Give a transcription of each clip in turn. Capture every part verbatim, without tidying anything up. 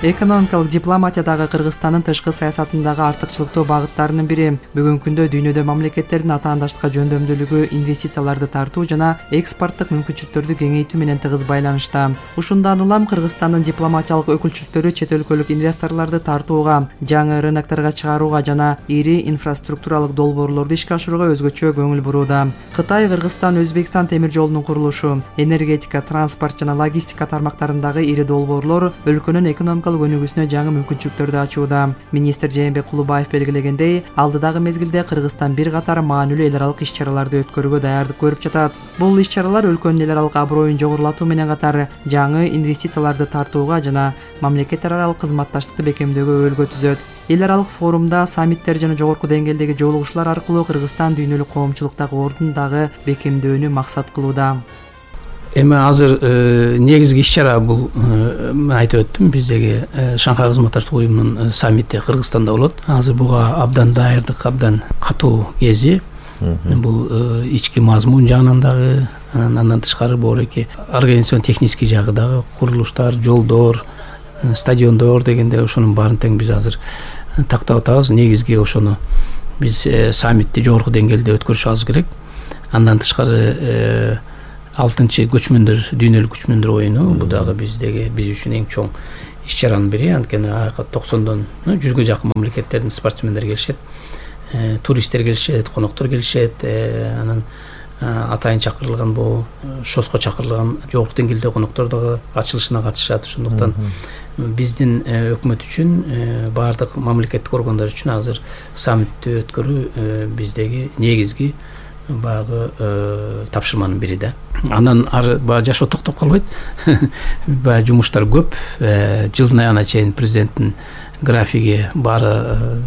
Экономикалык дипломатиядагы Кыргызстандын тышкы саясатындагы артыкчылыктуу багыттарынын бири бүгүнкү күндө дүйнөдө мамлекеттердин атаандаштыкка жөндөмдүүлүгү инвестицияларды тартуу жана экспорттук мүмкүнчүлүктөрдү кеңейтүү менен тыгыз байланышта. Ушундан улам Кыргызстандын дипломатиялык өкүлчүлүктөрү чет өлкөлүк инвесторлорду тартууга, жаңы рынокторго чыгарууга жана ири инфраструктуралык долбоорлорду ишке ашырууга өзгөчө көңүл бурууда. Кытай, Кыргызстан, Өзбекстан темир жолунун курулушу, энергетика, транспорт жана логистика тармактарындагы ири долбоорлор өлкөнүн экономикалык өнүгүүсүнө жаңы мүмкүнчүлүктөрдү ачууда. Министр Жээнбек Кулубаев белгилегендей, алдыдагы мезгилде Кыргызстан бир катар маанилүү эл аралык иш-чараларды өткөрүүгө даярдык көрүп жатат. Бул иш-чаралар өлкөнүн эл аралык аброюн жогорулатуу менен катар жаңы инвестицияларды тартууга жана мамлекеттер аралык кызматташтыкты бекемдөөгө өбөлгө түзөт. Эл аралык форумда саммиттер жана жогорку деңгээлдеги жолугушуулар аркылуу Кыргызстан дүйнөлүк коомчулуктагы ордун дагы бекемдөөнү максат кылууда. Эми азыр негизги иш-чара бул айтып өттүм, биздеги Шанхай кызматташтык уюмунун саммити Кыргызстанда болот. Азыр буга абдан даярдык, абдан катуу кези. Бул ички мазмун жагынан дагы, андан тышкары боореки организацион технический жагы дагы, курулуштар, жолдор, стадиондор дегенде ошонун баарын тең биз азыр тактап атабыз. Негизги ошону биз саммитти жогорку деңгээлде өткөрүшүбүз керек. Андан тышкары алтынчы көчмөндөр дүйнөлүк көчмөндөр оюну, бул дагы биздеги биз үчүн эң чоң иш-чаранын бири. Анткени ага токсондон жүзгө жакын мамлекеттердин спортсмендери келишет, туристтер келишет, коноктор келишет. Анан атайын чакырылган бул шоско чакырылган жогорку деңгээлде коноктор дагы ачылышына катышат. Ошондуктан биздин өкмөт үчүн, баардык мамлекеттик органдар үчүн азыр саммитти өткөрүү биздеги негизги багы тапшырманын бири да. Андан ары баягы жашоо токтоп калбайт. Баягы жумуштар көп. Жылдын аягына чейин президенттин графиги баары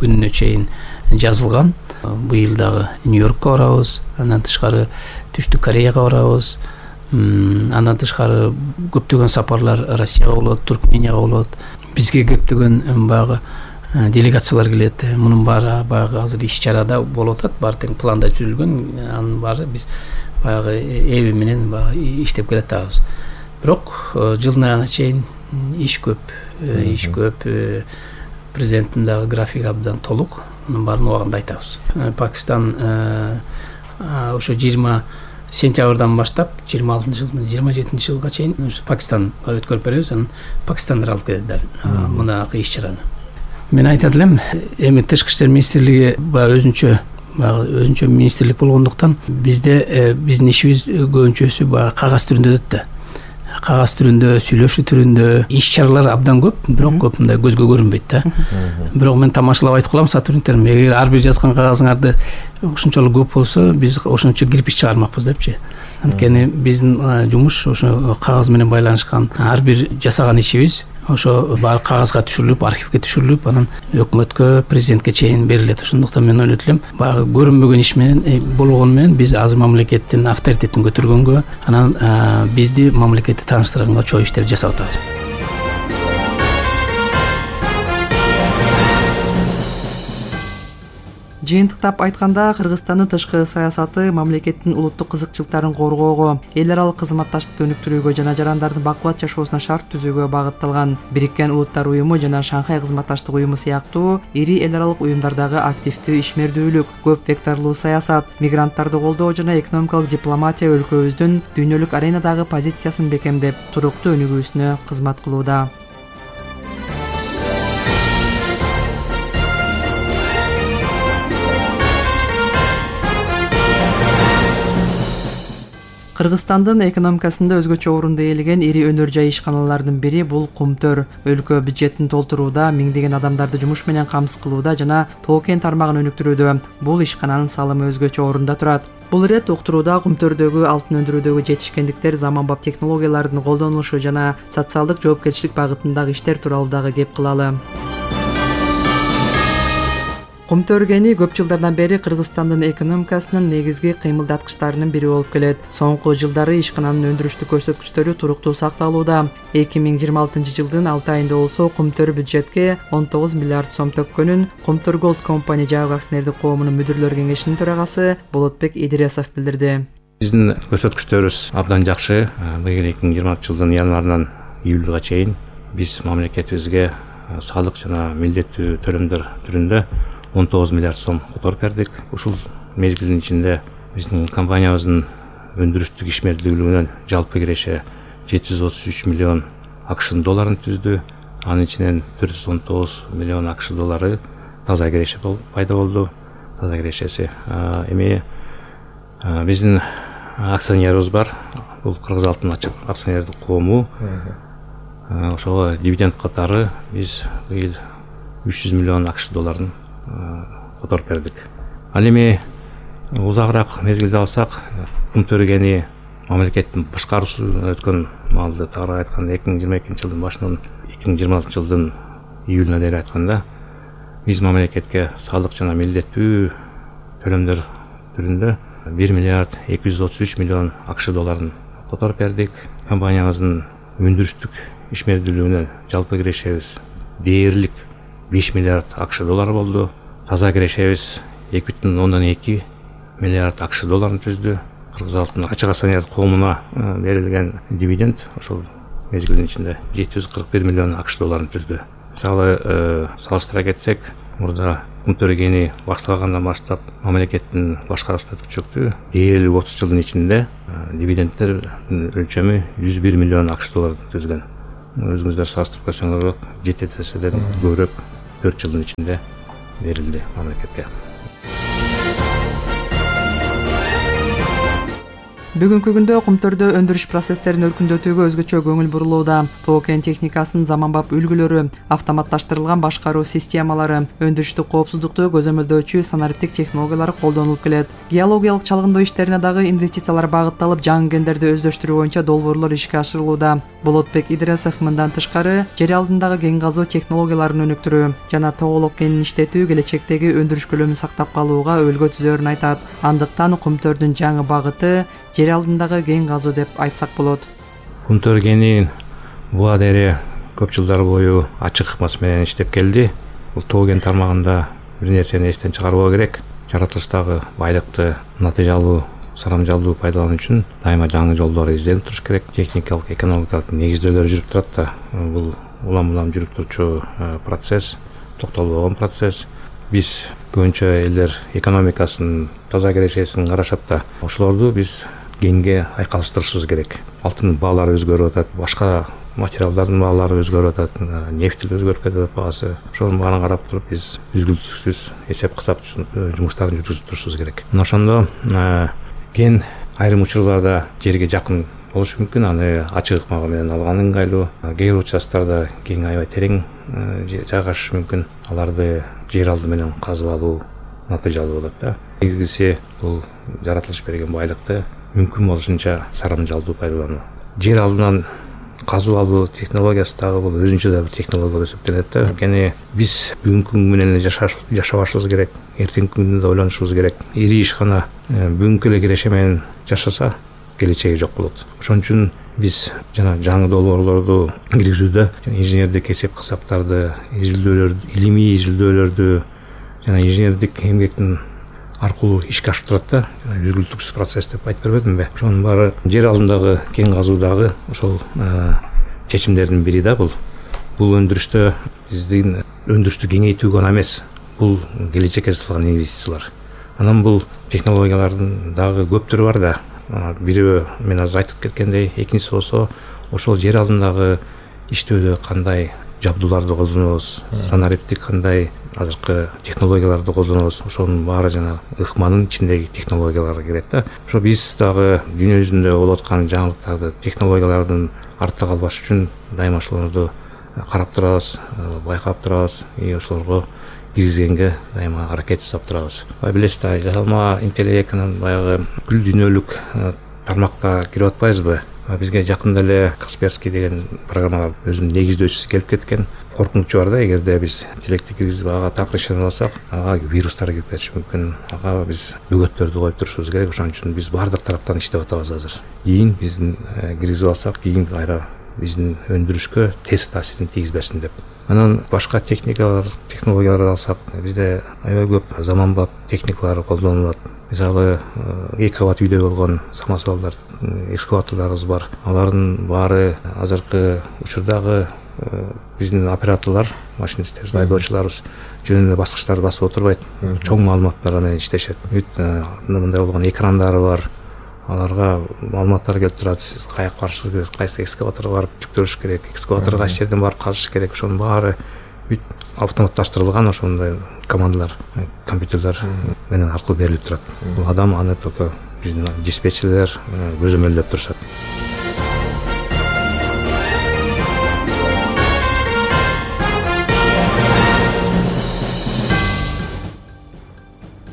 күнүнө чейин жазылган. Быйыл дагы Нью-Йоркко барабыз, андан тышкары Түштүк Кореяга барабыз. Андан тышкары көптөгөн сапарлар Россияга болот, Туркменияга болот. Бизге көптөгөн баягы делегациялар келет. Мунун баары баягы азыр иш-чарада болуп атат, баары тең планда түзүлгөн. Анын баары биз баягы эби менен баягы иштеп келатабыз. Бирок жылдын аягына чейин иш көп, иш көп. Президенттин дагы графиги абдан толук. Мунун баарын убагында айтабыз. Пакистан ошо жыйырма сентябрдан баштап жыйырма алтынчы жылдын жыйырма жетинчи жылга чейин Пакистанга өткөрүп беребиз. Анан Пакистандыр алып келет мунакы иш-чараны. Мен айтат элем, эми тышкы иштер министрлиги баягы өзүнчө баягы өзүнчө министрлик болгондуктан бизде биздин ишибиз көбүнчөсү баягы кагаз түрүндө өтөт да. Кагаз түрүндө, сүйлөшүү түрүндө иш-чаралар абдан көп, бирок көп мындай көзгө көрүнбөйт да. Бирок мен тамашалап айтып калам сотрудниктерим, эгер ар бир жазган кагазыңарды ошончолук көп болсо, биз ошончо кирпич чыгармакпыз депчи. Анткени биздин жумуш ошо кагаз менен байланышкан, ар бир жасаган ишибиз ошо баары кагазга түшүрүлүп, архивге түшүрүлүп, анан өкмөткө, президентке чейин берилет. Ошондуктан мен ойлойт элем, баягы көрүнбөгөн иш менен болгону менен биз азыр мамлекеттин авторитетин көтөргөнгө, анан бизди мамлекетти тааныштырганга чоң иштер жасап атабыз. Жыйынтыктап айтканда, Кыргызстандын тышкы саясаты мамлекеттин улуттук кызыкчылыктарын коргоого, эл аралык кызматташтыкты өнүктүрүүгө жана жарандардын бакубат жашоосуна шарт түзүүгө багытталган. Бириккен Улуттар уюму жана Шанхай кызматташтык уюму сыяктуу ири эл аралык уюмдардагы активдүү ишмердүүлүк, көп векторлуу саясат, мигранттарды колдоо жана экономикалык дипломатия өлкөбүздүн дүйнөлүк аренадагы позициясын бекемдеп, туруктуу өнүгүүсүнө кызмат кылууда. Кыргызстандын экономикасында өзгөчө орунду ээлеген ири өнөр жай ишканаларынын бири бул Кумтөр. Өлкө бюджетин толтурууда, миңдеген адамдарды жумуш менен камсыз кылууда жана тоо-кен тармагын өнүктүрүүдө бул ишкананын салымы өзгөчө орунда турат. Бул ирет уктурууда Кумтөрдөгү алтын өндүрүүдөгү жетишкендиктер, заманбап технологиялардын колдонулушу жана социалдык жоопкерчилик багытындагы иштер тууралуу дагы кеп кылалы. Кумтөр кени көп жылдардан бери Кыргызстандын экономикасынын негизги кыймылдаткычтарынын бири болуп келет. Соңку жылдары ишкананын өндүрүштүк көрсөткүчтөрү туруктуу сакталууда. эки миң жыйырма алтынчы жылдын алты айында болсо Кумтөр бюджетке он тогуз миллиард сом төккөнүн Кумтөр Gold Company жабык акционердик коомунун мүдүрлөр кеңешинин төрагасы Болотбек Идиресов билдирди. Биздин көрсөткүчтөрүбүз абдан жакшы. Быйыл эки миң жыйырма алтынчы жылдын январынан июлга чейин биз мамлекетибизге салык жана милдеттүү төлөмдөр түрүндө он тогуз миллиард сом которуп бердик. Ушул мезгилдин ичинде биздин компаниябыздын өндүрүштүк ишмердүүлүгүнө жалпы киреше жети жүз отуз үч миллион АКШ долларын түздү. Анын ичинен төрт жүз он тогуз миллион АКШ доллары таза киреше пайда болду. Таза кирешеси эми биздин акционерибиз бар. Бул Кыргыз алтын ачык акционердик коому. Ошого дивиденд катары биз быйыл үч жүз миллион АКШ долларын которуп бердик. Ал эми узагыраак мезгилде алсак, кум төрөгени мамлекеттин башкаруусуна өткөн маалды тагыраак айтканда эки миң жыйырма экинчи жылдын башынан эки миң жыйырма алтынчы жылдын июлуна дейин айтканда биз мамлекетке салык жана милдеттүү төлөмдөр түрүндө бир миллиард эки жүз отуз үч миллион АКШ долларын которуп бердик. Компаниябыздын өндүрүштүк ишмердүүлүгүнө жалпы кирешебиз дээрлик беш миллиард АКШ доллары болду. Таза кирешебиз эки бүтүн ондон эки миллиард АКШ долларын түздү. Кыргыз алтын ачык акционердик коомуна берилген дивиденд ошол мезгилдин ичинде жети жүз кырк бир миллион АКШ долларын түздү. Мисалы салыштыра кетсек, мурда кум төрөгени башталгандан баштап мамлекеттин башкаруусуна өткүчөктү дээрлик отуз жылдын ичинде дивидендтер өлчөмү жүз бир миллион АКШ долларын түзгөн. Өзүңүздөр салыштырып көрсөңөр жети эседен көбүрөөк төрт жылдын ичинде берилди мамлекетке. Бүгүнкү күндө Кумтөрдө өндүрүш процесстерин өркүндөтүүгө өзгөчө көңүл бурулууда. Тоо кен техникасынын заманбап үлгүлөрү, автоматташтырылган башкаруу системалары, өндүрүштүк коопсуздукту көзөмөлдөөчү санариптик технологиялар колдонулуп келет. Геологиялык чалгындоо иштерине дагы инвестициялар багытталып, жаңы кендерди өздөштүрүү боюнча долбоорлор ишке ашырылууда. Болотбек Идресов мындан тышкары жер алдындагы кен казуу технологияларын өнүктүрүү жана тоголок кенин иштетүү келечектеги өндүрүш көлөмүн сактап калууга өбөлгө түзөрүн айтат. Андыктан Кумтөрдүн жаңы багыты жер алдындагы кен казуу деп айтсак болот. Кумтөр кени бул адери көп жылдар бою ачык ыкмасы менен иштеп келди. Бул тоо кен тармагында бир нерсени эстен чыгарбоо керек. Жаратылыштагы байлыкты натыйжалуу, сарамжалуу пайдалануу үчүн дайыма жаңы жолдор изделип туруш керек. Техникалык, экономикалык негиздөөлөр жүрүп турат да. Бул улам-улам жүрүп турчу процесс, токтолбогон процесс. Биз көбүнчө элдер экономикасын, таза кирешесин карашат да. Ошолорду биз кенге айкалыштырышыбыз керек. Алтын баалары өзгөрүп атат, башка материалдардын баалары өзгөрүп атат, нефть өзгөрүп кетет баасы. Ошонун баарын карап туруп биз үзгүлтүксүз эсеп кысап жумуштарын жүргүзүп турушубуз керек. Мына ошондо кен айрым учурларда жерге жакын болушу мүмкүн, аны ачык ыкма менен алган ыңгайлуу. Кээ бир участтарда кен аябай терең жайгашышы мүмкүн. Аларды жер алды менен казып алуу натыйжалуу болот да. Негизгиси бул жаратылыш берген байлыкты мүмкүн болушунча сарамжалдуу пайдалануу. Жер алдынан казып алуу технологиясы дагы бул өзүнчө да бир технология болуп эсептелет да. Анткени биз бүгүнкү күн менен эле жашабашыбыз керек, эртеңки күндү да ойлонушубуз керек. Ири ишкана бүгүнкү эле киреше менен жашаса, келечеги жок болот. Ошон үчүн биз жана жаңы долбоорлорду киргизүүдө инженердик эсеп кысаптарды, изилдөөлөрдү, илимий изилдөөлөрдү жана инженердик эмгектин аркылуу ишке ашып турат да. Үзгүлтүксүз процесс деп айтып бербедимби? Ошонун баары жер алдындагы кен казуудагы ошол чечимдердин бири да бул. Бул өндүрүштө биздин өндүрүштү кеңейтүү гана эмес, бул келечекке салган инвестициялар. Анан бул технологиялардын дагы көп түрү бар да. Бирөө мен азыр айтып кеткендей, экинчиси болсо ошол жер алдындагы иштөөдө кандай жабдууларды колдонобуз, санариптик кандай азыркы технологияларды колдонобуз, ошонун баары жана ыкманын ичиндеги технологияларга кирет да. Ошо биз дагы дүйнө жүзүндө болуп аткан жаңылыктарды, технологиялардын артта калбаш үчүн дайыма ошолорду карап турабыз, байкап турабыз, и ошолорго киргизгенге дайыма аракет жасап турабыз. Билесиз да, жасалма интеллектинин баягы бүткүл дүйнөлүк тармакта кирип атпайбызбы? Бизге жакында эле Касперский деген программалар өзүнүн негиздөөчүсү келип кеткен. Коркунучу бар да, эгерде биз интеллектти киргизип ага так решение алсак, ага вирустар кирип кетиши мүмкүн. Ага биз бөгөттөрдү коюп турушубуз керек. Ошон үчүн биз баардык тараптан иштеп атабыз азыр. Кийин биздин киргизип алсак, кийин кайра биздин өндүрүшкө терс таасирин тийгизбесин деп. Анан башка техникалар, технологияларды алсак, бизде аябай көп заманбап техникалар колдонулат. Мисалы, эки кабат үйдө болгон самосвалдар, экскаваторлорубуз бар. Алардын баары азыркы учурдагы биздин операторлор, машинисттерибиз, айдоочуларыбыз жөн эле баскычтарды басып отурбайт, чоң маалыматтар менен иштешет. Бүт мындай болгон экрандары бар, аларга маалыматтар келип турат. Сиз каяка барышыңыз керек, кайсы экскаваторго барып жүктөрүш керек, экскаваторго кайсы жерден барып казыш керек, ошонун баары бүт автоматташтырылган ошондой командалар, компьютерлер менен аркылуу берилип турат. Бул адам аны только биздин диспетчерлер көзөмөлдөп турушат.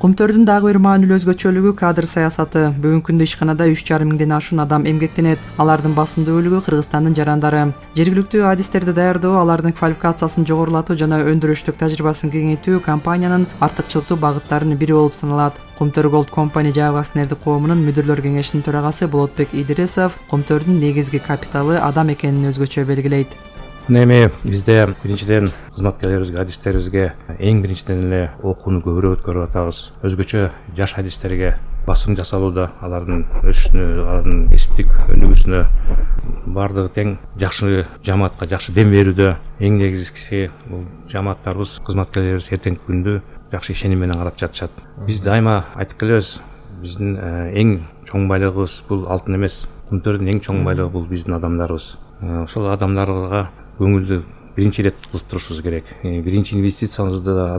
Кумтөрдүн дагы бир маанилүү өзгөчөлүгү кадр саясаты. Бүгүнкү күндө ишканада үч жарым миңден ашуун адам эмгектенет. Алардын басымдуу бөлүгү Кыргызстандын жарандары. Жергиликтүү адистерди даярдоо, алардын квалификациясын жогорулатуу жана өндүрүштүк тажрыйбасын кеңейтүү компаниянын артыкчылыктуу багыттарынын бири болуп саналат. Кумтөр Gold Company жайгы акционердик коомунун мүдүрлөр кеңешинин төрагасы Болотбек Идрисов Кумтөрдүн негизги капиталы адам экенин өзгөчө белгилейт. Эми бизде биринчиден кызматкерлерибизге, адистерибизге эң биринчиден эле окууну көбүрөөк өткөрүп атабыз. Өзгөчө жаш адистерге басым жасалууда, алардын өсүшүнө, алардын кесиптик өнүгүүсүнө баардыгы тең жакшы жамаатка жакшы дем берүүдө. Эң негизгиси бул жамааттарыбыз, кызматкерлерибиз эртеңки күндү жакшы ишеним менен карап жатышат. Биз дайыма айтып келебиз, биздин эң чоң байлыгыбыз бул алтын эмес. Кумтөрдүн эң чоң байлыгы бул биздин адамдарыбыз. Ошол адамдарга көңүлдү биринчи ирет кылып турушубуз керек. Биринчи инвестициябызды